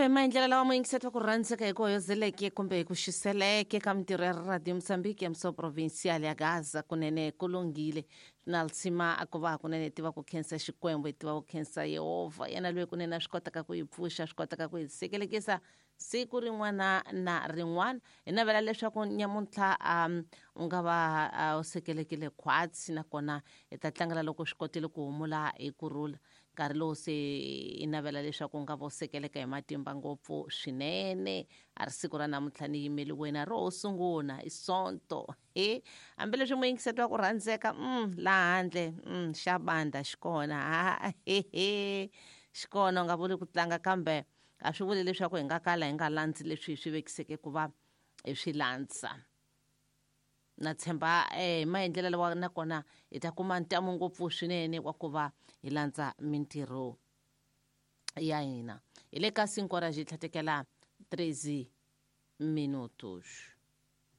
Kambe hi maendlelo lawa muyingiseti wa ku rhandzeka hi ku hoyozeleke kumbe hi ku xiseleke ka mintirho ya Radio Mozambique ya Mso Provincial ya Gaza, kunene ku lunghile na lsima a ku va kunene hi tiva ku khensa Xikwembu, hi tiva ku khensa Yehovha, yena loyi kunene a swi kotaka ku hi pfuxa, a swi kotaka ku hi sekelekisa siku rin'wana na rin'wana. Hi navela leswaku nyamuntlha u nga va u sekelekile khwatsi, nakona hi ta tlangela loko swi kotile ku humula hi kurhula nkarhi lowu se i navela leswaku u nga va u sekeleka hi matimba ngopfu swinene. A ri siku ra namuntlha ni yimeli wena ro sungula i Sonto he, hambileswi muyingiseti wa ku rhandzeka laha handle xa banda xi kona, ha he xi kona, u nga vuli ku tlanga, kambe a swi vuli leswaku hi nga kala hi nga landzi leswi hi swi vekiseke ku va hi swi landza. Na tshemba hi maendlelo lawa nakona hi ta kuma ntamu ngopfu swinene wa ku va hi landza mintirho ya hina. Hi le ka 5 horas hi tlhatekela 13 minutos.